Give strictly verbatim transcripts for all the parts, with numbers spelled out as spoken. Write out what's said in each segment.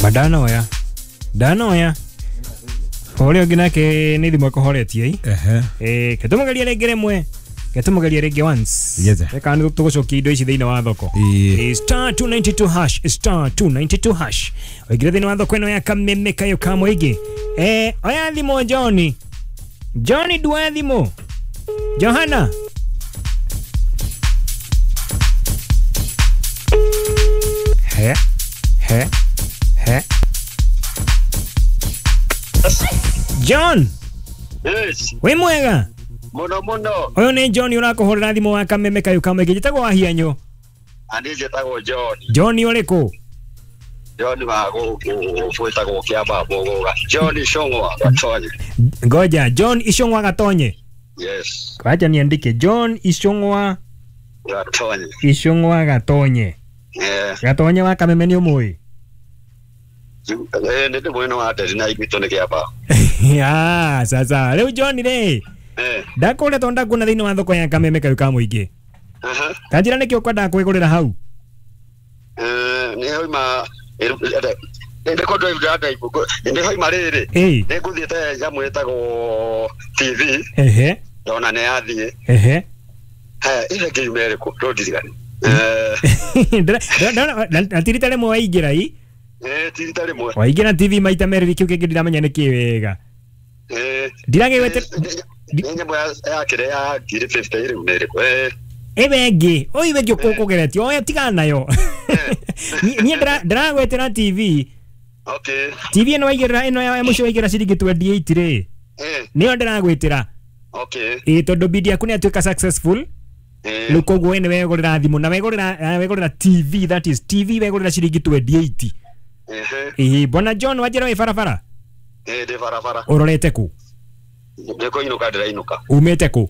Madanoya ndanoya ũrĩa ũngĩ nake nĩ thimũ ĩkũhoretie Ehe. eh ketũmũgeria rĩngĩ rĩmwe ketũmũgeria rĩngĩ once Yes. reka nĩ tũgũcokia indo ici thĩinĩ wa thoko. Ĩĩ. Eh, star two ninety-two hash star two ninety-two hash ũingĩre thĩinĩ wa thoko ĩno ya kameme kayo ka mũingĩ. Eh oya thimũ John. John ndua thimũ. Johana. He he he John. Yes. Wĩ mwega? Muno muno. Ũyũ nĩ John ũrakũhũrĩra thimũ wa kameme kayo ka mũingĩ. Njĩtagwo Wahianyũ. Aniĩ njĩtagwo John. John ũrĩkũ? John wa gũkũ gwĩtagwo Kĩamba Mũgũga. John Icũng'wa Gatonye. Ngoja, John Icũng'wa Gatonye. Yes. Wacha niandike John Icũng'wa Gatonye. Icũng'wa Gatonye. Eh. Gatonye wa kameme nĩ ũmũĩ? Eh, nĩ ndĩmũĩ nĩ wa nderi na igwitũ nĩ Kĩamba. Ah, sasa rĩu John rĩ. Eh. Ndakũrĩa tondũ ndakuona thĩinĩ wa thoko ya kameme kayo ka mũingĩ. Aha. Kanjĩra nĩkĩ ũkwendaga kwĩgũrĩra hau? Eh, nĩ hoima nĩ kũndũ nĩ hoima rĩrĩ. Ĩĩ. Nĩ ngũthiĩte nyamũ ĩtagwo T V. Ehe. Ndona nĩ yathiĩ. Ehe. Haya, ile ngiuma ĩrĩkũ? Ndũndirikane. Eh. Ndĩra ti rita rĩmwe waingĩra ĩ? Eh, ti rita rĩmwe. Waingĩra T V maita merĩ kĩu kĩngĩ ndiramenya nĩ kĩ wega. Eh. Ndiragĩgwete Nĩ nyamũ ya kĩrĩa ya ngiri fifty rĩu nĩ ĩrĩkũ? Eh. Ĩwe ĩngĩ, ũyũ ĩngĩ ũkũgeretie, oya tigana nayo. Niĩ ndĩragwetera T V. Okay. T V ĩno waigĩrĩra ĩno ya mũico waigĩrĩra ciringi twenty-eight rĩ. Eh. Nĩyo ndĩragwĩtĩra. Okay. Ĩ tondũ bid yaku nĩ yatuĩka successful. Eh. Rĩu koguo we nĩ wegũrĩra thimũ na wegũrĩra wegũrĩra T V, that is T V wegũrĩra ciringi twenty-eight. Ehe. Ĩ bona John wanjĩra wĩ barabara? Eh, ndĩ barabara. Ũrorete kũ? Nĩ kũinũka ndĩrainũka. Umĩte kũ?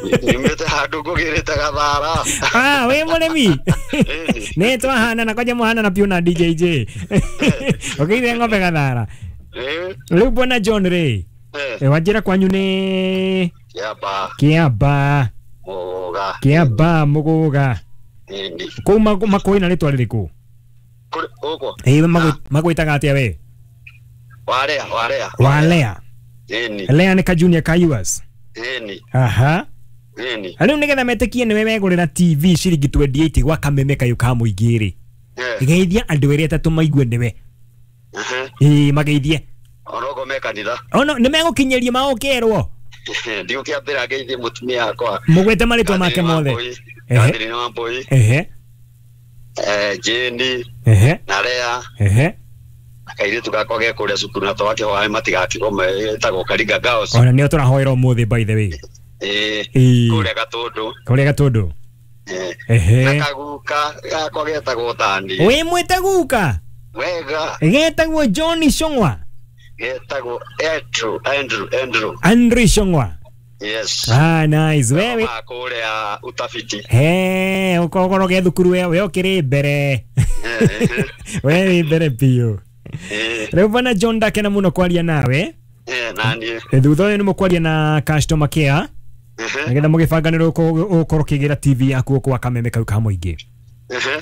Nyumĩte handũ ngũgĩrĩte gathara. Ah, wĩ mũrĩmi? Nĩ twahana na kwanja mũhana na piũ na D J J. Ũkĩire ng'ombe gathara. Eh. Rĩu bona John rĩ. Eh. Wanjĩra kwanyu nĩ Kĩamba. Kĩamba. Mũgũga. Kĩamba Mũgũga. Ĩni. Kũu makũĩ na rĩtwa rĩrĩkũ? Gũkũ. Ĩ magwĩtaga atĩa we? Walea, walea. Walea. Ĩni. Lea nĩ ka junior ka U S. Ĩni. Aha. Ĩni. Rĩu nĩgetha metĩkie nĩwe wegũrĩra T V ciringi twenty-eight gwa kameme kayo ka mũingĩ rĩ. Geithia andũ erĩ atatũ maigue nĩwe. Ĩ mageithie. Onogo me kanitha. Ono nĩ megũkinyĩria maũkerwo. Ndigũkĩambĩra ngeithie mũtumia wakwa. Mũgwete marĩtwa make mothe. Catherine Wambui. Ehe. Eh, Jane. Ehe. Na Lea. Ehe. Kairĩtu gakwa ge kũrĩa cukuru na twakĩhoya matigakĩgome ĩtagwo Karinga Girls. Ona nĩo tũrahoera ũmũthĩ by the way. Ĩĩ. Kũrĩa Gatũndũ. Kũrĩa Gatũndũ. Eh. Ehe. Na kaguka gakwa getagwo Tani. Wĩ mwĩte guka? Wega. Getagwo John Icũng'wa. Getagwo Andrew, Andrew, Andrew. Andrew Icũng'wa. Yes. Ah, nice. Wewe kũrĩa utafiti. He, ũkorwo ge thukuru we we ũkĩrĩ mbere. We wĩ mbere biũ. Rĩu bwana John ndakena mũno kwaria nawe. Eh, naniĩ. Thutha ũyũ nĩ mũkwaria na customer care. Nĩgetha mũgĩbanganĩrwo ũkorwo ũkĩgĩra T V yaku kwa kameme kau ka mũingĩ.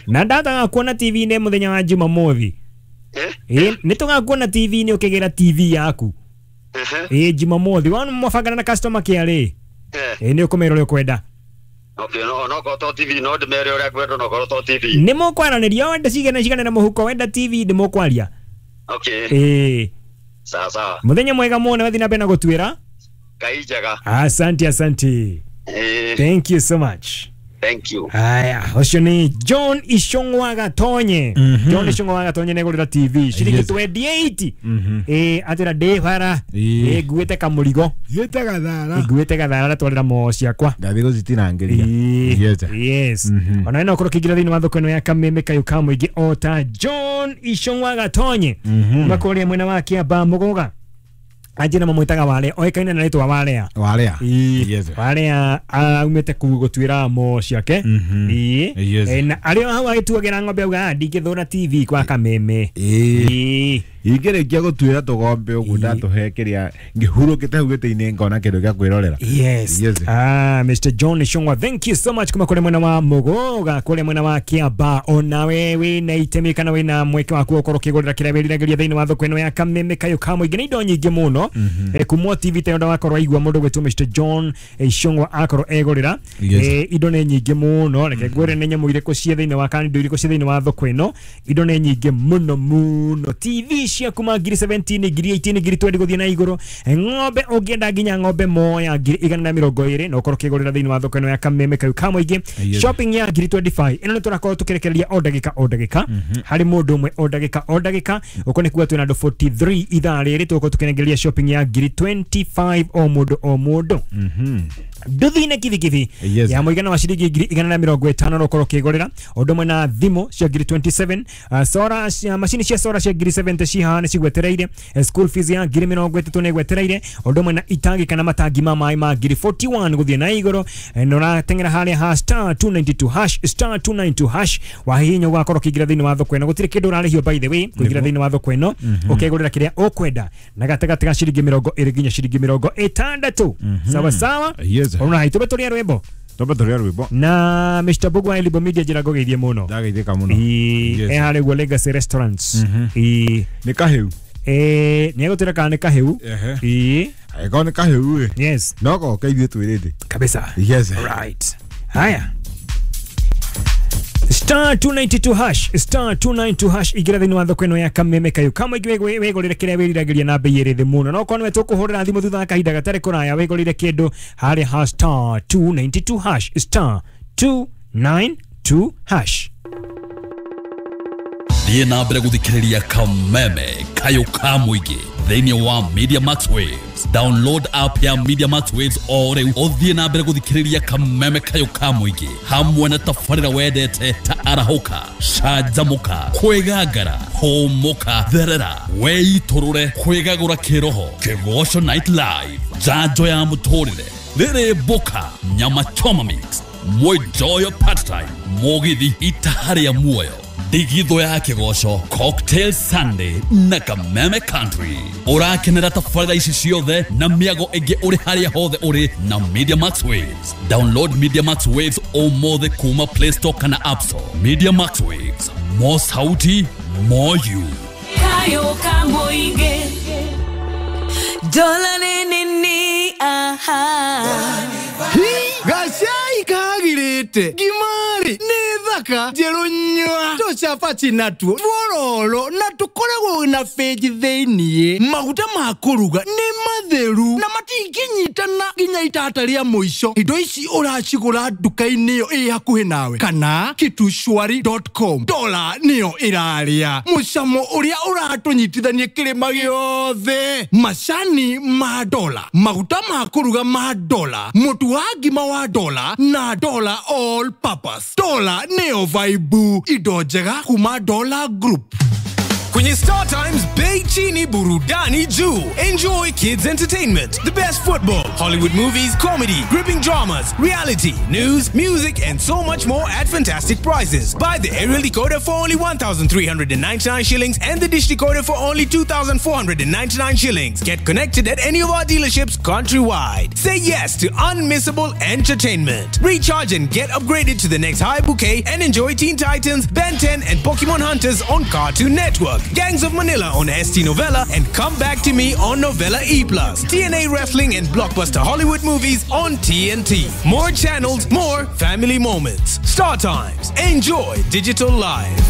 Na ndataga kuona T V-inĩ mũthenya wa Jumamothi. Ĩ nĩ tũgakuona T V-inĩ ũkĩgĩra T V yaku. Ĩ Jumamothi wona mwabangana na customer care rĩ. Ĩ nĩ ũkũmera ũrĩa ũkwenda. Okay, no no ko T V no ndĩmere ũrĩa ngwenda no korwo to T V. Nĩ mũkwaranĩria wenda cigana cigana na mũhuko wenda T V nĩ mũkwaria. Okay. Ĩ. Sawa sawa. Mũthenya mwega mũno wathi na mbere na gũtuĩra. Ngai njega. Asante, asante. Eh. Thank you so much. Thank you. Aya, ũcio nĩ John Icũng'wa Gatonye. John Icũng'wa Gatonye nĩegũrĩra T V ciringi twenty-eight. Ĩ atĩra ndĩ bara. Ĩ nguĩte kamũrigo. Nguĩte gathara. Nguĩte gathara ndatwarĩra moo ciakwa. Ndathiĩ gũcitinangĩria. Yes. Ona no ũkorwo ũkĩingĩra thĩinĩ wa thoko ĩno ya kameme kayo ka mũingĩ o ta John Icũng'wa Gatonye. Makũrĩa mwena wa Kĩamba Mũgũga. Anjina mamwitaga wale oikaine na ritwa walea walea yes walea aumete ku gutwira mo ciake ii na ario hau agituagira ng'ombe auga ndingithura T V kwa kameme ii ingĩrĩkia gũtuĩra tũgombe ũguo ndatũhe kĩrĩa ngĩhurũkĩte hau gĩtĩ-inĩ ngona kĩndũ gĩa kwĩrorera. Yes. Yes. Ah, Mister John Shongwa, thank you so much kuma kũrĩ mwena wa Mũgũga kũrĩ mwena wa Kiamba. Ona we wĩna itemi kana wĩna mweke waku ũkorwo ũkĩgũrĩra kĩrĩa wĩriragĩria thĩinĩ wa thoko ĩno ya Kameme Kayũ ka Mũingĩ. Nĩ indo nyingĩ mũno mm-hmm. Kumwo T V tayo ndawakorwo aigua mũndũ gwĩtwo Mister John Shongwa akorwo egũrĩra. Yes. Eh, indo nĩ nyingĩ mũno, reke ngwĩre nĩ nyamũ irĩkũ ciĩ thĩinĩ wa kana indo irĩkũ ciĩ thĩinĩ wa thoko ĩno. Indo nĩ nyingĩ mũno mũno. T V cia kuma ngiri seventeen ngiri eighteen ngiri twenty gũthiĩ na igũrũ. Ng'ombe ũngĩenda nginya ng'ombe moya ngiri igana na mĩrongo ĩrĩ na ũkorwo ũkĩgũrĩra thĩinĩ wa thoko ĩno ya Kameme Kayũ ka Mũingĩ. Yes. Shopping ya ngiri twenty-five ĩno nĩ tũrakorwo tũkĩrekereria o ndagĩka o ndagĩka harĩ mũndũ ũmwe o ndagĩka o ndagĩka. Ũko nĩ kuga twĩna andũ forty-three ithaa rĩrĩ tũgũkorwo tũkĩnengereria shopping ya ngiri twenty-five o mũndũ o mũndũ. Nduthi na kibikibi Yes. ya mũigana wa ciringi ngiri igana na mĩrongo ĩtano no ũkorwo ũkĩgũrĩra ũndũ ũmwe na thimũ cia ngiri twenty-seven uh, sora cia macini cia sora cia ngiri seventy cihaha nĩ cigwetereire. Eh, school fees ya ngiri mĩrongo ĩtatũ nĩ ĩgwetereire ũndũ ũmwe na itangi kana matangi ma maĩ ma ngiri forty-one gũthiĩ na igũrũ. Eh, na ũrateng'era harĩa ha star two ninety-two hash star two ninety-two hash wahihinya ũgakorwo ũkĩingĩra thĩinĩ wa thoko ĩno. Gũtirĩ kĩndũ ũrarĩhio by the way kũingĩra thĩinĩ wa thoko ĩno ũkegũrĩra kĩrĩa ũkwenda na gatagatĩ ga ciringi mĩrongo ĩrĩ nginya ciringi mĩrongo ĩtandatũ. Sawa sawa. Yes. Ona haitå tå rwĩmbo Twambe tũrĩe rwĩmbo na Mister Bugwa Elibo Media njĩra ngũgeithie mũno. Ndageithĩka mũno. Ĩĩ, Yes. e harĩa ũguo Legacy Restaurants. Ĩĩ, Nĩ kahĩu. ĩĩ, nĩ egũtwĩra kana nĩ kahĩu. Ehe. Ĩĩ, Angĩkorwo nĩ kahĩu ĩ yes no goke ithuĩ twĩrĩte. kabisa. Yes. Right. Haya. Star two ninety-two hash star two ninety-two hash igĩra thĩinĩ wa thoko ĩno ya Kameme Kayũ ka Mũingĩ wĩgũrĩre kĩrĩa wĩriragĩria na bei ĩrĩ thĩ mũno. No korwo nĩwe tũkũhũrĩra thimũ thutha wa kahinda gatarĩ kũraya wĩgũrĩre kĩndũ harĩa ha star two ninety-two hash star two ninety-two hash. Thiĩ na mbere gũthikĩrĩria Kameme Kayũ ka Mũingĩ thĩinĩ wa Media Max Waves. Download app ya Media Max Waves o rĩu ũthiĩ na mbere gũthikĩrĩria Kameme Kayũ ka Mũingĩ hamwe na tabarĩra wendete ta arahũka, canjamũka, kwĩgangara, hũmũka, therera, weitũrũre, kwĩgagũra kĩroho, Kĩgoco Night Live, njanjo ya mũtũrĩre, rĩrĩ mboka, nyama choma mix, mwenjoyo part time, mũgithi itaha rĩa muoyo, ndigithũ ya kĩgoco, Cocktail Sunday na Kameme Country. Ũrakenera tabarĩra ici ciothe na mĩago ĩngĩ ũrĩ harĩa hothe ũrĩ na Media Max Waves. Download Media Max Waves ũmũthĩ kuma Play Store kana App Store. Media Max Waves, more sauti, more you. Kayũ ka Mũingĩ. Dola ni ni aha. Gacai kagirĩte ngimari nĩ thaka njerũ nyua tũcabaci natuo twororo na tũkoragwo na benji thĩiniĩ. Maguta ma kũruga nĩ matheru na matingĩnyitana nginya itata rĩa mũico. Indo ici ũracigũra nduka-inĩ ĩyo ĩ hakuhĩ nawe kana kitushwari dot com. Dola nĩyo ĩrarĩa mũcamo ũrĩa ũratũnyitithania kĩrĩma gĩothe. Macani ma dola, maguta ma kũruga ma dola, mũtu wa ngima wa dola na dola all purpose. Dola nĩyo vibe, indo njega kuma Dola Group. Kwenye Star Times, bei chini burudani juu. Enjoy kids entertainment, the best football, Hollywood movies, comedy, gripping dramas, reality, news, music, and so much more at fantastic prices. Buy the aerial decoder for only one thousand three hundred ninety-nine shillings and the dish decoder for only two thousand four hundred ninety-nine shillings. Get connected at any of our dealerships countrywide. Say yes to unmissable entertainment. Recharge and get upgraded to the next high bouquet and enjoy Teen Titans, Ben ten, and Pokemon Hunters on Cartoon Network, Gangs of Manila on S T Novella, and Come Back to Me on Novella E plus. T N A Wrestling and Blockbuster Hollywood movies on T N T. More channels, more family moments. Star Times. Enjoy digital life.